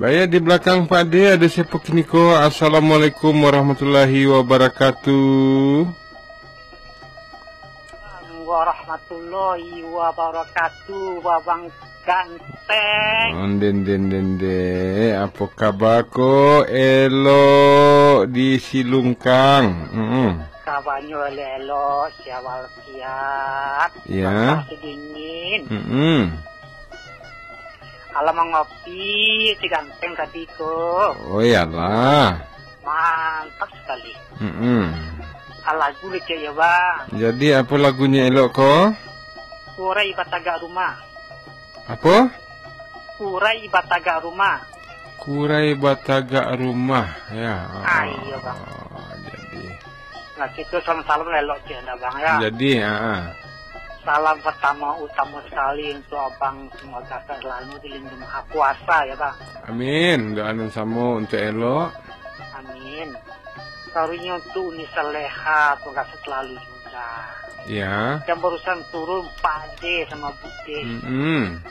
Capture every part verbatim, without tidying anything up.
Baiak, di balakang Pak De, ado siapo kini ko? Assalamualaikum warahmatullahi wabarakatuh. Warahmatullahi wabarakatuh, Babang Ganteng. Onde, onde, onde, onde. Apo kaba ko? Elok di Silungkang. Mm-mm. Kabanyo elok-elok, siap walafiat. Ya. Cuaca dingin. Mm-mm. Alah mangopi si Ganteng tadi ko. Oh, iyalah. Mantap sakali. Mm-mm. Ah, lagu kecek yo, Bang. Jadi, apo lagunyo elok ko? Kurai Batagak Rumah. Apo? Kurai Batagak Rumah. Kurai Batagak Rumah, ya. Ah, iyo, Bang. Jadi. Nah, kito salam-salam elok je, ndak, Bang, ya? Jadi, ah, ah. Salam pertama utama sekali untuk Abang, semoga selalu dilindungi Maha Kuasa, ya, Bang. Amin. Doa nan samo untuk elok. Amin. Karunia untuk Uni Saleha, semoga selalu juga. Ya. Yang barusan turun, Pak De sama Bude. Mm-mm.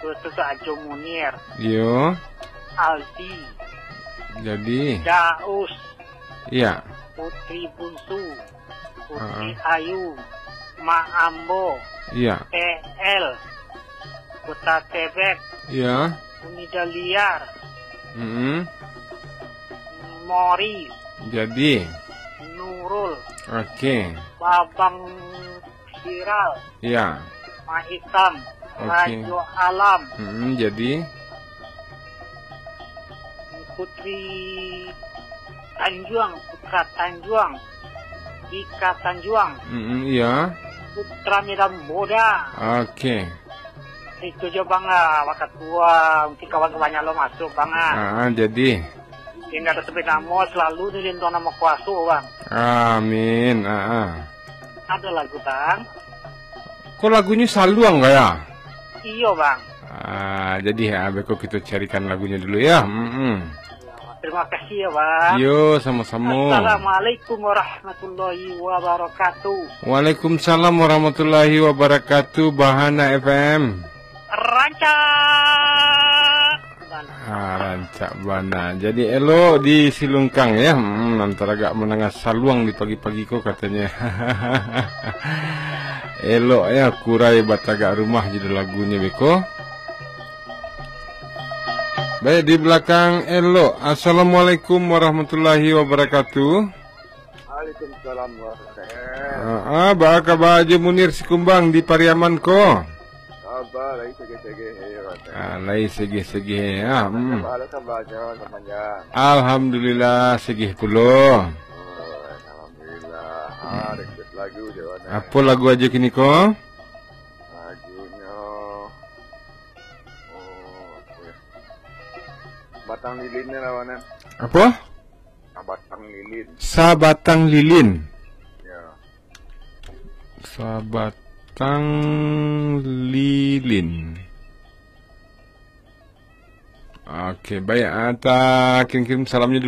Terus tu Ajo Munir. Yo. Aldi. Jadi. Daus. Iya. Putri Bunsu. Putri Heeh. Ayu. Mak Ambo. Iya. T L. Kota Tebet. Iya. Uni Daliar. Mm-mm. Mori. Jadi. Nurul. Oke. Babang Siral. Iya. Mak Hitam. Oke. Rajo Alam. Mm-mm, jadi. Putri Tanjuang, Putra Tanjuang. Ika Tanjuang. Mm-mm, iya. Putra Medan Muda. Oke. Itu jo, Bang, ah, wakatu, ah, mungkin kawan-kawan nyo lo masuk, Bang, ah. Ah, jadi. Indak ado sampai namo, selalu dilindungi Maha Kuaso, Bang. Amin. Ah, ah. Ado lagu, Bang. Ko lagunyo Saluang, kaya? Iyo, Bang. Ah, jadi, ah, beko kito carikan lagunyo dulu, ya. Mm-mm. Terima kasih, ya, Bang. Yo, samo-samo. Assalamualaikum warahmatullahi wabarakatuh. Waalaikumsalam warahmatullahi wabarakatuh, Bahana F M. Rancak bana. Ah, rancak bana. Jadi, elok di Silungkang, ya. Hmm, antara agak mandanga saluang di pagi-pagi ko, katonyo. Elok, ya, Kurai Batagak Rumah judul lagunyo beko. Baik, di balakang elok. Assalamualaikum warahmatullahi wabarakatuh. Waalaikumsalam warahmatullahi wabarakatuh. Ah, ah, baa kaba Ajo Munir Sikumbang di Pariaman ko? Kaba lai segeh-segeh, eh, Wan. Ah, lai segeh-segeh, ah, hmm. Kaba, kabanyo samanjang? Alhamdulillah, segeh pulo. Oh, alhamdulillah. Ah, hmm. Request lagu je, Wan, eh. Apo lagu Ajo kini ko? Lagunyo, oh, apo yo? Batang Lilin ni lah, Wan, eh. Apo? Sabatang Lilin. Sabatang Lilin. Ya. Sabatang Lilin. Oke, baik. Ah, ta kirim-kirim salamnyo dulu.